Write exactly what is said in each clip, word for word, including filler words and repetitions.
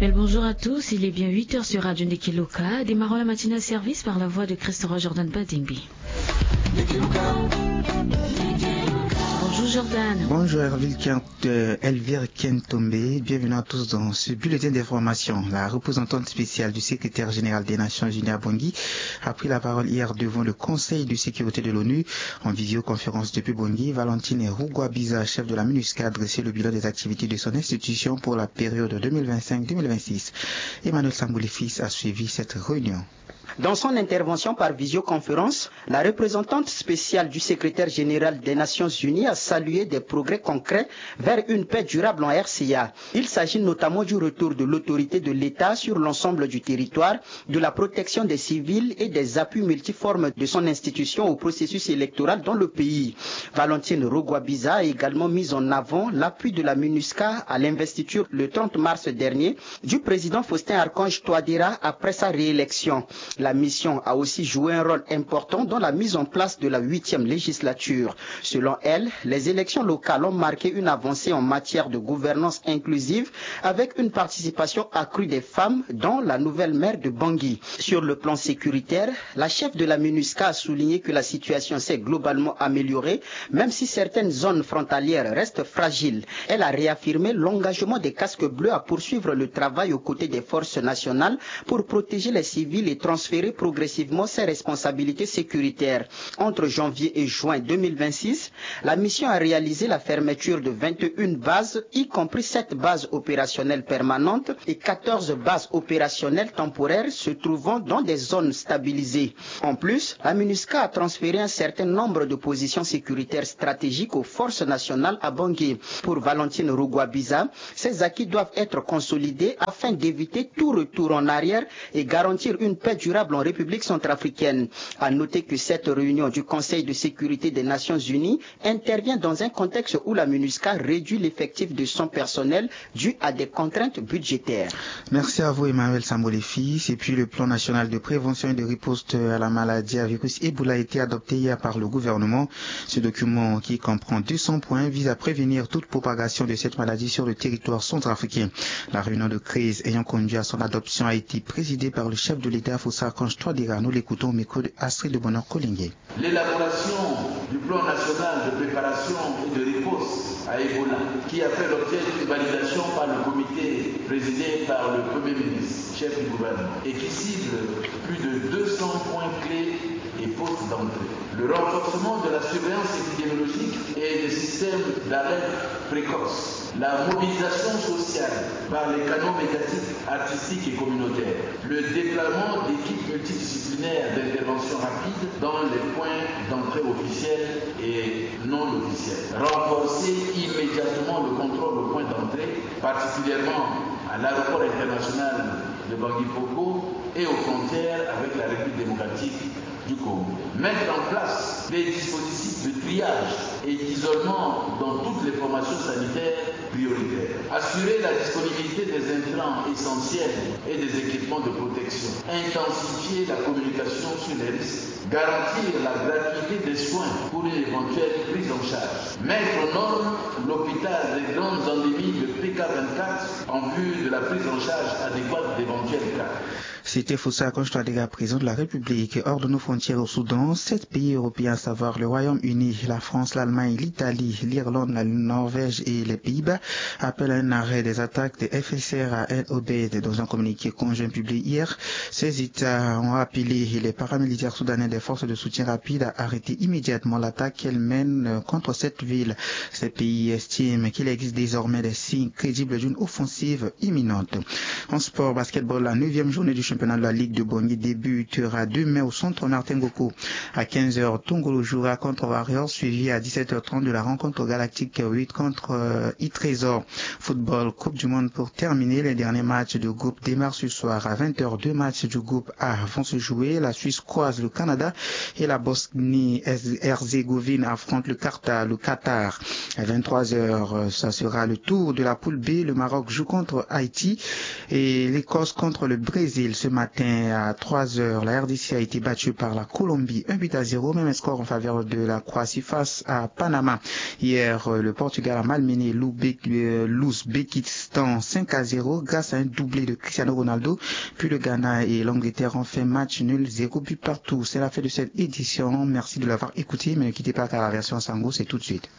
Bel bonjour à tous, il est bien huit heures sur Radio Ndeke Loka. Démarrons la matinée à service par la voix de Christ Roi Jordan Badingbi. Bonjour Jordan. Bonjour Elvire Kent, euh, Elvire Kentombe. Bienvenue à tous dans ce bulletin d'information. La représentante spéciale du secrétaire général des Nations Unies à Bangui a pris la parole hier devant le Conseil de sécurité de l'ONU en visioconférence depuis Bangui. Valentine Rugwabiza, chef de la MINUSCA, a dressé le bilan des activités de son institution pour la période deux mille vingt-cinq deux mille vingt-six. Emmanuel Sambouli Fils a suivi cette réunion. Dans son intervention par visioconférence, la représentante spéciale du secrétaire général des Nations Unies a salué des progrès concrets vers une paix durable en R C A. Il s'agit notamment du retour de l'autorité de l'État sur l'ensemble du territoire, de la protection des civils et des appuis multiformes de son institution au processus électoral dans le pays. Valentine Rugwabiza a également mis en avant l'appui de la MINUSCA à l'investiture le trente mars dernier du président Faustin Archange Touadéra après sa réélection. La mission a aussi joué un rôle important dans la mise en place de la huitième législature. Selon elle, les élections locales ont marqué une avancée en matière de gouvernance inclusive avec une participation accrue des femmes, dont la nouvelle maire de Bangui. Sur le plan sécuritaire, la chef de la MINUSCA a souligné que la situation s'est globalement améliorée, même si certaines zones frontalières restent fragiles. Elle a réaffirmé l'engagement des casques bleus à poursuivre le travail aux côtés des forces nationales pour protéger les civils et transférer progressivement ses responsabilités sécuritaires. Entre janvier et juin deux mille vingt-six, la mission a réalisé la fermeture de vingt et une bases, y compris sept bases opérationnelles permanentes et quatorze bases opérationnelles temporaires se trouvant dans des zones stabilisées. En plus, la MINUSCA a transféré un certain nombre de positions sécuritaires stratégiques aux forces nationales à Bangui. Pour Valentine Rugwabiza, ces acquis doivent être consolidés afin d'éviter tout retour en arrière et garantir une paix durable en République centrafricaine. À noter que cette réunion du Conseil de sécurité des Nations Unies intervient dans un contexte où la MINUSCA réduit l'effectif de son personnel dû à des contraintes budgétaires. Merci à vous Emmanuel Sambolefi. Et puis le plan national de prévention et de riposte à la maladie à virus Ebola a été adopté hier par le gouvernement. Ce document, qui comprend deux cents points, vise à prévenir toute propagation de cette maladie sur le territoire centrafricain. La réunion de crise ayant conduit à son adoption a été présidée par le chef de l'État, Faustin Archange Touadéra. Nous l'écoutons au micro de Astrid de Bonheur Kolenge. L'élaboration du plan national de préparation et de riposte à Ebola, qui a fait l'objet d'une validation par le comité présidé par le Premier ministre, chef du gouvernement, et qui cible plus de deux cents points clés et postes d'entrée. Le renforcement de la surveillance épidémiologique et des systèmes d'alerte précoce. La mobilisation sociale par les canaux médiatiques, artistiques et communautaires. Le déploiement d'équipes multidisciplinaires d'intervention rapide dans les points d'entrée officiels et non officiels. Renforcer immédiatement le contrôle aux points d'entrée, particulièrement à l'aéroport international de Bangui Poko et aux frontières avec la République démocratique du Congo. Mettre en place des dispositifs de triage et d'isolement dans toutes les formations sanitaires prioritaires. Assurer la disponibilité des intrants essentiels et des équipements de protection. Intensifier la communication sur les risques. Garantir la gratuité des soins pour une éventuelle prise en charge. Mettre aux normes l'hôpital des grandes endémies de P K vingt-quatre en vue de la prise en charge adéquate d'éventuels cas. C'était Faustin Archange Touadéra, président de la République. Hors de nos frontières au Soudan, sept pays européens, à savoir le Royaume-Uni, la France, l'Allemagne, l'Italie, l'Irlande, la Norvège et les Pays-Bas, appellent à un arrêt des attaques de F S R à El Obeid. Dans un communiqué conjoint publié hier, ces États ont appelé les paramilitaires soudanais des forces de soutien rapide à arrêter immédiatement l'attaque qu'elles mènent contre cette ville. Ces pays estiment qu'il existe désormais des signes crédibles d'une offensive imminente. En sport, basketball, la neuvième journée du championnat de la Ligue de Bangui débutera demain au centre Martin Ngogo. À quinze heures, Tongolo jouera contre Warriors, suivi à dix-sept heures trente de la rencontre galactique huit contre, euh, Itrésor. Football, Coupe du Monde pour terminer. Les derniers matchs de groupe démarrent ce soir à vingt heures. Deux matchs du groupe A vont se jouer. La Suisse croise le Canada et la Bosnie-Herzégovine affronte le Qatar, le Qatar. À vingt-trois heures, ça sera le tour de la poule B. Le Maroc joue contre Haïti et l'Écosse contre le Brésil. Ce Matin à trois heures, la R D C a été battue par la Colombie, un but à zéro, même score en faveur de la Croatie face à Panama. Hier, euh, le Portugal a malmené l'Ouzbék-, euh, l'Ouzbékistan cinq à zéro grâce à un doublé de Cristiano Ronaldo. Puis le Ghana et l'Angleterre ont fait match nul, zéro but partout. C'est la fin de cette édition. Merci de l'avoir écouté, mais ne quittez pas car la version Sango, c'est tout de suite.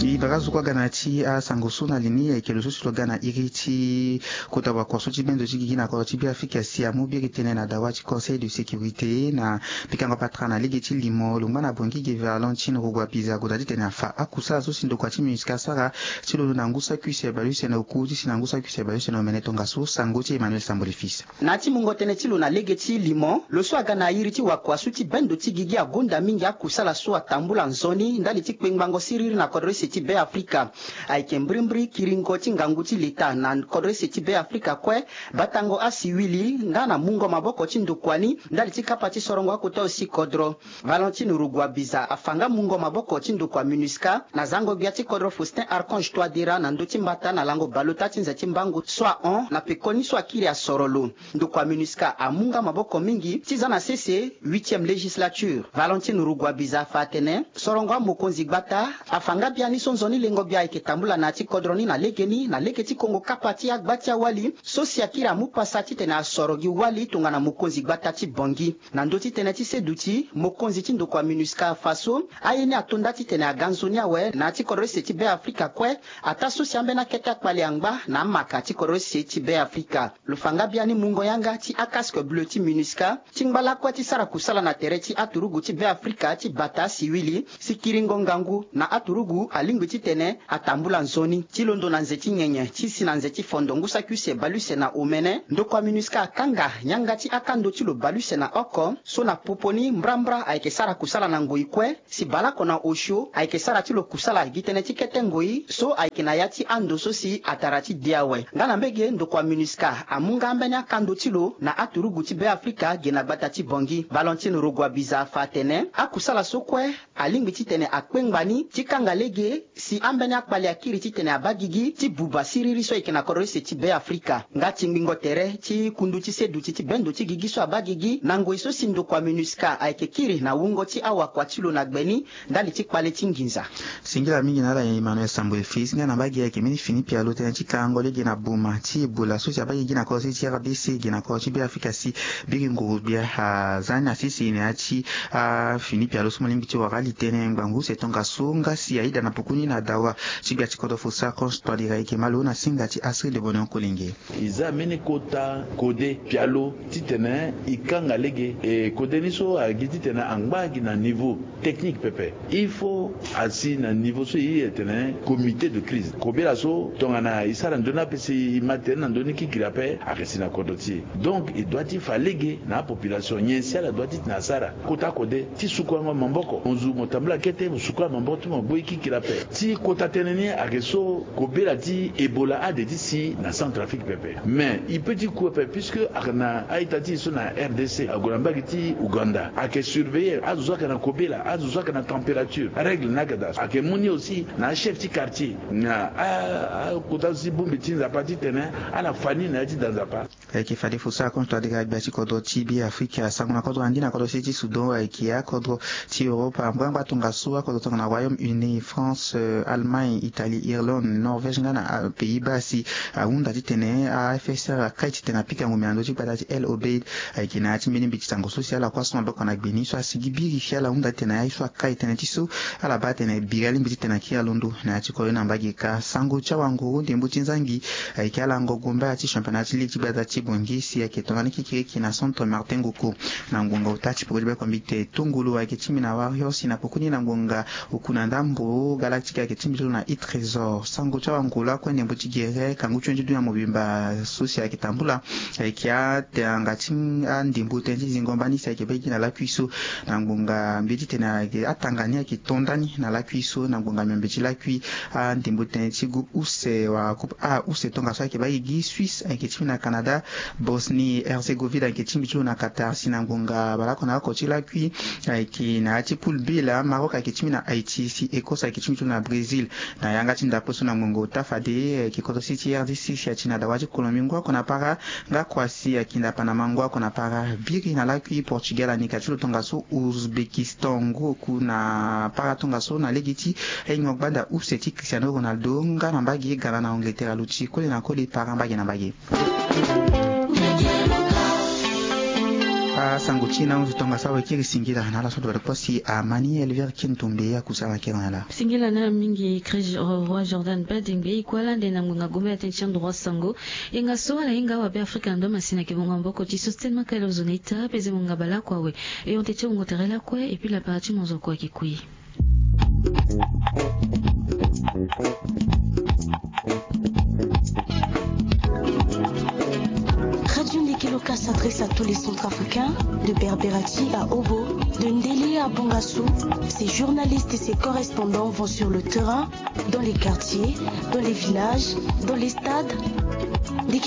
E bara zo kue aga na ya ti asango so na li ni, ayeke lo so si lo ga na iri ti kota wakua so ti bendo ti gigi na kodro ti Beafrika si amu biri tënë na dawa ti Conseil de sécurité na pikango patara na lege ti limo lo ngba na Bangui ge Valentine Rugwabiza ague daa titene afa akusala so si ndokua ti MINUSCA asara ti londo na ngu saki use bale use na oku ti si na ngu saki use bale use na omene tongaso. Sango ti Emmanuel Sambole Fils. Na ya ti mungo tënë ti lo na lege ti limo, lo so aga na iri ti wakua so ti bendo ti gigi agonda mingi akusala so atambula nzoni ndali ti kpengbango siriri na kodro use ti Beafrika. Ayeke mbirimbiri kiringo ti ngangu ti leta na kodro use ti Beafrika kue, batango asiwili nga na mungo maboko ti ndokua ni ndali ti kapa ti sorongo akota aussi kodro. Valentine Rugwabiza afa nga mungo maboko ti ndokua MINUSCA na zango gbia ti kodro Faustin Archange Touadéra na ndö ti mbata na lango baleota ti nze ti mbangu so ahon na pekoni so akiri asoro lo. Ndokua MINUSCA amu nga maboko mingi ti za na sese huitième législature. Valentine Rugwabiza afa atene sorongo amokonzi gbata afa nga biani so nzoni lengo gbia ayeke tambula na ya ti kodro ni na legeni na lege ti kongo kapa ti agba ti awali so si akiri amu pasa titene asoro gi wali tongana mokonzi gbata ti Bangui. Na ndö ti tënë ti seduti, mokonzi ti ndokua MINUSCA afa so aye ni ato nda titene aga nzoni awe na ya ti kodro use ti Beafrika kue, ataa so si ambeni akete akpale angba na amaka ti kodro use ti Beafrika. Lo fa nga biani mungo yanga ti acasque bleu ti MINUSCA ti ngba lakue ti sara kusala na tere ti aturugu ti Beafrika ti bata asiwili si kiringo ngangu na aturugu alingbi titene atambula nzoni ti londo na nze ti nyenye ti si na nze ti fondo ngu saki use bale use na omene. Ndokua MINUSCA akanga yanga ti akando ti lo bale use na oko so na popo ni mbrambra ayeke sara kusala na ngoi kue si baleoko na osio ayeke sara ti lo kusala gi tënë ti kete ngoi so ayeke na ya ti ando so si atara ti de awe. Nga na mbege ndokua MINUSCA amu nga ambeni akando ti lo na aturugu ti Beafrika ge na gbata ti Bangui. Valentine Rugwabiza afa atene akusala so kue alingbi titene akpengba ni ti kanga lege si ambeni akpale akiri titene abaa gigi ti buba siriri so ayeke na kodro use ti Beafrika. Nga tingbingo tere ti kundu ti seduti ti bendo ti gigi so abaa gigi na ngoi so si ndokua MINUSCA ayeke kiri na wungo ti awakua ti lo na gbe ni ndali ti kpale ti nginza. Singila mingi na ala Emmanuel Sambwe Fils nga na mbage ayeke mbeni fini pialo tënë ti karango lege na boma ti Ebola so si abaa gigi na kodro ti R D C ge na kodro ti Beafrika si biri nguru gbia aza ni na sese na ya ti afini pialo so mo lingbi ti wara ali tënë ngbangbu use tongaso nga si ayeda na pukuni na dawa ti gbia ti kodro Faustin Archange Touadéra ayeke malo na singa ti Astrid de Bonheur Kolenge. E za mbeni kota kode pialo titene e kanga lege. E kode ni so agi titene angba gi na niveau technique pepe. Il faut asi na niveau so e iri tene comité de crise. Kobela so tongana e sara nzoni ape si e ma tënë na ndö ni kikiri ape ayeke si na kodro ti e. Donc e doit ti fa lege na apopulation nyen si ala doit titene asara. Kota kode ti sukuango maboko, mo zu mo tambula kete mo sukua maboko ti mo gbu e kikiri ape. Ti kota tënë ni ayeke so kobela ti Ebola ade ti si na Centrafrique pepe. Mais e peut ti ku ape puisque ayeke na a-ita ti e so na R D C ague na mbage ti Ouganda ayeke surveiller azo so ayeke na kobela, azo so ayeke na température, règle ni ayeke daa so ayeke mu ni aussi na achef ti quartier na a, akota so ti bongbi ti Nzapa titene ala fa ni na ya ti da Nzapa. Ayeke fade Faustin Archange Touadéra gbia ti kodro ti Beafrika asango na kodro andi na kodro se ti Soudan ayeke akodro ti Europe. Angbangba tongaso akodro tongana Royaume-Uni, France, euh, Allemagne, Italie, Irlande, Norvège nga na, ah, Pays-Bas si ahunda titene a F S R akai titene apika ngombe na ndö ti gbata ti El Obeid. Ayeke na ya ti mbeni mbeti sango so si ala kue aso maboko na gbe ni so asigi biri si ala hunda titene aye so akai tënë ti so ala baa tene biri alingbi titene akiri alondo na ya ti kodro ni na mbage ka. Sango ti awanguru ndembo ti nzangi ayeke ala ngongo mbaya ti championnat ti ligue ti gbata ti Bangui si ayeke tongana ni kikiriki na centre Martin Ngoko. Na ngonga ota ti peko ti beko mbi te tongolo ayeke ti mbi na Warriors si na pokoni na ngonga oku na ndambo Galactique ayeke ti mbi ti lo na Heat Trésor. Sango ti awanguru lakue ndembo ti gere kangu ti wen ti dunia mobimba so si ayeke tambula ayeke atanga ti andembo tënë ti zingo mbani si ayeke baa gigi na lakui so. Na ngonga mbi ye titene ayeke atanga ni ayeke to ndani na lakui so na ngonga miombe ti lakui andembo tënë ti groupe use wala groupe A use tongaso ayeke baa gigi Suisse ayeke ti mbi na Canada. Bosnie-Herzégovine ayeke tingbi ti lo na Qatar si na ngonga baleoko na oko ti lakui. Ayeke na ya ti poule B laa, Maroc ayeke tingbi na Haïti si Écosse ayeke tingbi ti lo na Brésil. Na yanga ti ndapre so na ngonga ota fade ayeke kodro si ti R D C si ati na dawa ti Colombie ngu oko na para, nga Croatie ayeke na Panama ngu oko na para. Biri na lakui, Portugal ayeke na ya ti lo tongaso, Ouzbékistan ngu oku na para tongaso na lege ti ahingo gbanda use ti Cristiano Ronaldo, nga na mbage Ghana na Angleterre aluti koli na koli para mbage na mbage. Asango ti e na hunzi tongaso awe kiri singila na ala so duba ti kpo si Amani Elvire Kintumbe akusala kiri na ala. Singila na mingi Chris Roi Jordan Badingbe, e kue ala nde na ngonga gombe na tënë ti andro asango. Yenga so ala hinga awabe Afrika na ndo masina ayeke bonga maboko ti Sostene Makala, ozo na ita peze ngonga baleoko awe. E hon tënë ti mungo tere lakue, et puis lapara ti monzoko ayeke kui. Radio Ndeke Loka s'adresse à tous les Centrafricains, de Berberati à Obo, de Ndele à Bongassou. Ses journalistes et ses correspondants vont sur le terrain, dans les quartiers, dans les villages, dans les stades. Ndeke